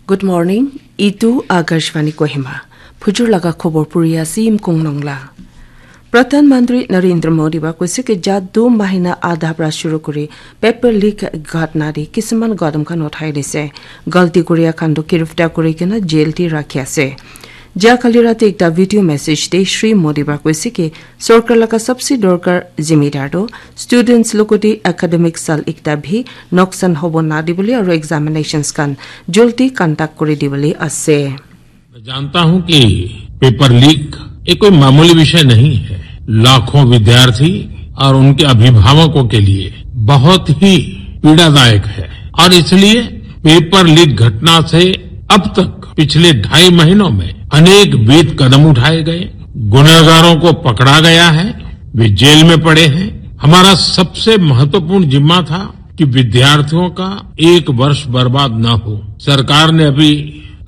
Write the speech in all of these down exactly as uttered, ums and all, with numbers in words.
Good morning. Itu Akashvani Kohima. Phujur laga khobor puri ase Imkung Nongla. Pradhan Mantri Narendra Modi ba koise ke ja du mahina adha pra shuru kuri paper leak ghatna de kisuman gadam khan uthai dise. Galti kuriya khan to giriftar kuri kena jail te rakhi ase. Ja kali rati ekta video message de Shri Modi ba koise ke sorkar laga sabse dorkar zimidar to students logote academic sal ekta bhi noksan hobo na dibole aru examinations khan jaldi conduct kuri dibole ase. मैं जानता हूं कि पेपर लीक ये कोई मामूली विषय नहीं है। लाखों विद्यार्थी और उनके अभिभावकों के लिए बहुत ही पीड़ादायक है और इसलिए पेपर लीक घटना से अब तक पिछले ढाई महीनों में अनेकविध कदम उठाए गए। गुनहगारों को पकड़ा गया है, वे जेल में पड़े हैं। हमारा सबसे महत्वपूर्ण जिम्मा था कि विद्यार्थियों का एक वर्ष बर्बाद न हो। सरकार ने अभी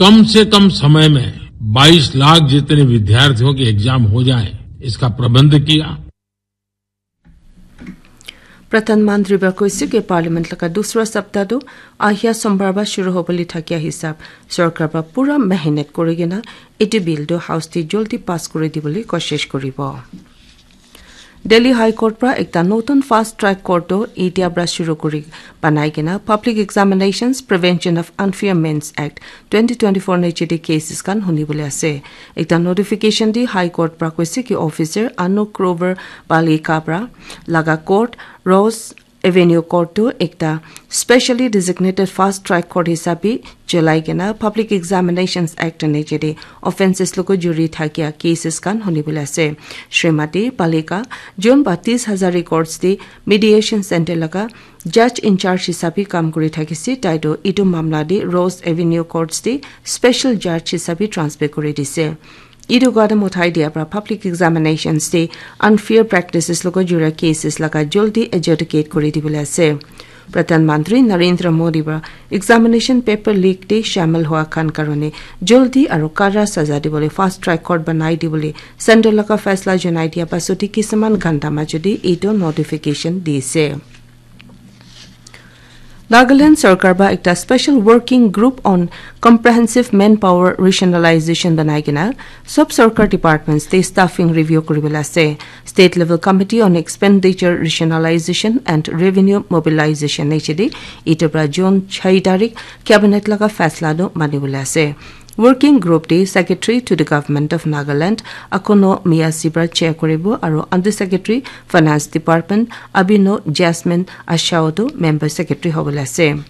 कम से कम समय में बाईस लाख जितने विद्यार्थियों के एग्जाम हो जाए, इसका प्रबंध किया। Pradhan Mantri ba koise ke Parliament laga dusra sapta tu ahia sombar ba shuru hobole thakia hisab sorkar ba pura mehnat kuri kena etu bill tu House te jaldi pass kuri dibole koshish kuribo. Delhi High Court pra ekta notun fast track court tu etia pra shuru kuri banai kena Public Examinations Prevention of Unfair Means Act twenty twenty-four niche de cases khan huni bole ase. Ekta notification di High Court pra koise ki officer Anup Grover Palika pra laga court Rose Avenue Court tu ekta specially designated fast track court hisabe cholai kena Public Examinations Act niche de offences logo juri thakia cases khan huni bole ase. Shrimati Palika June ba tis hazar records de mediation center laga judge in charge hisabe kam kuri thakise, tai tu etu mamla de Rose Avenue Courts de special judge hisabe transfer kuri dise. Etu gadam uthai dia pra Public Examinations de unfair practices logo jura cases laga jaldi adjudicate kuri dibole ase. Pradhan Mantri Narendra Modi pra examination paper leak de shamil hua khan karone jaldi aru kara saza dibole fast track court banai dibole center laga faisla janai dia pasot de kisuman ghanta majot de etu notification dise. Nagaland Sarkar ba ekta special working group on comprehensive manpower rationalization banai kena sob sarkar departments te staffing review kuri bole ase. State level committee on expenditure rationalization and revenue mobilization niche de etu pra June chai tarik cabinet laga faisla tu mani bole ase. Working group de secretary to the government of Nagaland Akono Miyasi pra chair kuribo aru under secretary finance department Abino Jasmine Ashao tu member secretary hobole ase.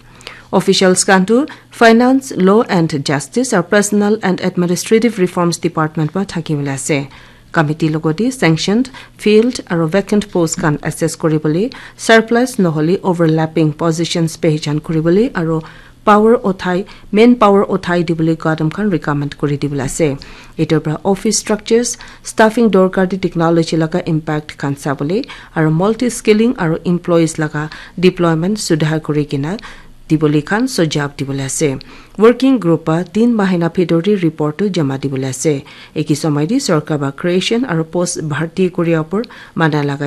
Officials khan tu finance, law and justice aru personal and administrative reforms department pra thaki bole ase. Committee logote sanctioned field aru vacant post khan assess kuribole surplus nohole overlapping positions pehchan kuribole aru power uthai main power uthai dibole gadam khan recommend kuri dibole ase. Etu pra office structures, staffing dorkar de technology laga impact khan sabole aru multi skilling aru employees laga deployment sudhar kuri kena dibole khan sujab dibole ase. Working group ba tin mahina bhitor de report tu jama dibole ase. Eki somoi de sarkar ba creation aru post bharti kuri apor mana lagai